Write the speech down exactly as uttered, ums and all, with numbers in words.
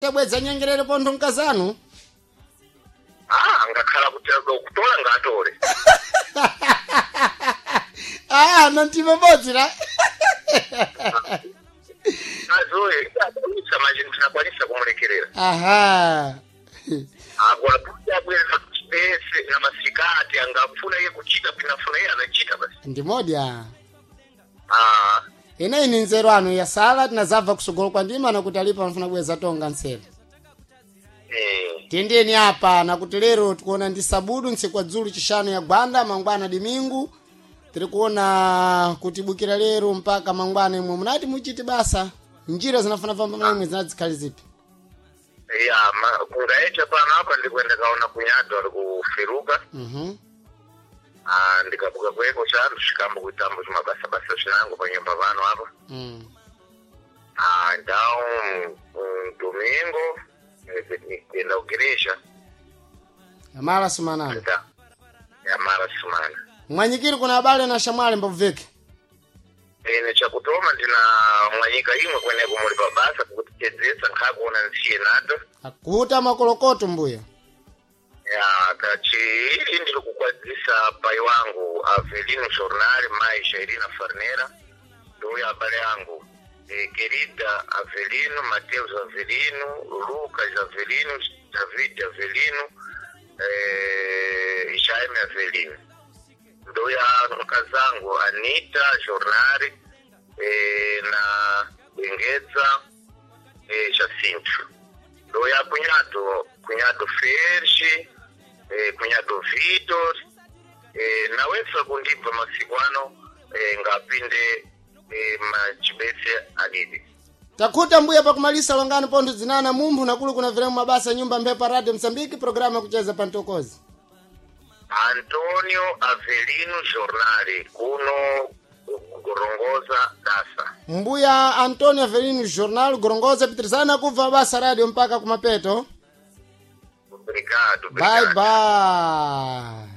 Tabwedza nyengerere pontho mkazanu. Ah, ngakhala kuti kutola ngatole. Ah, nantima bodzi la. Azoe akwanisa manje ndinakwanisa kumulekerera. Aha. Akwakuti abwera pese na masikati angafuna iye kuchita pinafuna iye anachita basi. Ndimodya. Ah, Ineyi ni nzeru anu yasala tinazabva kusogolo kwa ndima nakuti alipo anafuna kubweza tonga ntselo. eh, Tiyendeni apa nakuti lero tikuona ndi sabudu ntsiku dzulu chishanu ya gwanda mangwana dimingu. Tiri kuona kuti bukira lero mpaka mangwana imwe munati muchiti basa. Njira zinafuna famba imwe zinazikhali zipi? ya ma- kungaecha pano apa ndikuenda kaona kunyado ari kufiruka. Mhm. Ah, ndikabuka kweko chanu chikambo kuitambo chimabasa basa chinango panyumba pano apa. Mm. Ah, então um, domingo eh, kuenda kugereja Amala sumanana. nda yamara sumana. Mwanyikiri kuna abale na shamwali mbabveke. Ine chakutoma ndina mwanyika imwe kweneko muli pabasa kukutichedzesa nkhakuona nsiye nato. Akuta makolokoto mbuya. Ya kachiili ndiri kukwadzisa pai wangu Avelino Jornal mai Shairina Farnera ndoya abale yangu e, Querida Avelino, Mateus Avelino, Lucas Avelino, David Avelino, eh, Jaime Avelino ndoya mkazangu Anita Jornal eh, na Bengeza eh, Jacinto ndoya cunhado cunhado Ferge eh, cunhado Vitor eh, nawesa kundibva masiku ano eh, ngapinde eh, machibese adidi. Takuta mbuya pakumalisa longano pontho zinana mumphu nakulu kuna viremu mabasa nyumba mphepo radio Msambiki programu yakucheza pantokozi. Antonio Avelino Jornale kuno Gorongosa Dasa. Mbuya Antonio Avelino Jornal Gorongosa pitirizana kubva mabasa radio mpaka kumapeto. Obrigado, Bye obrigado. bye.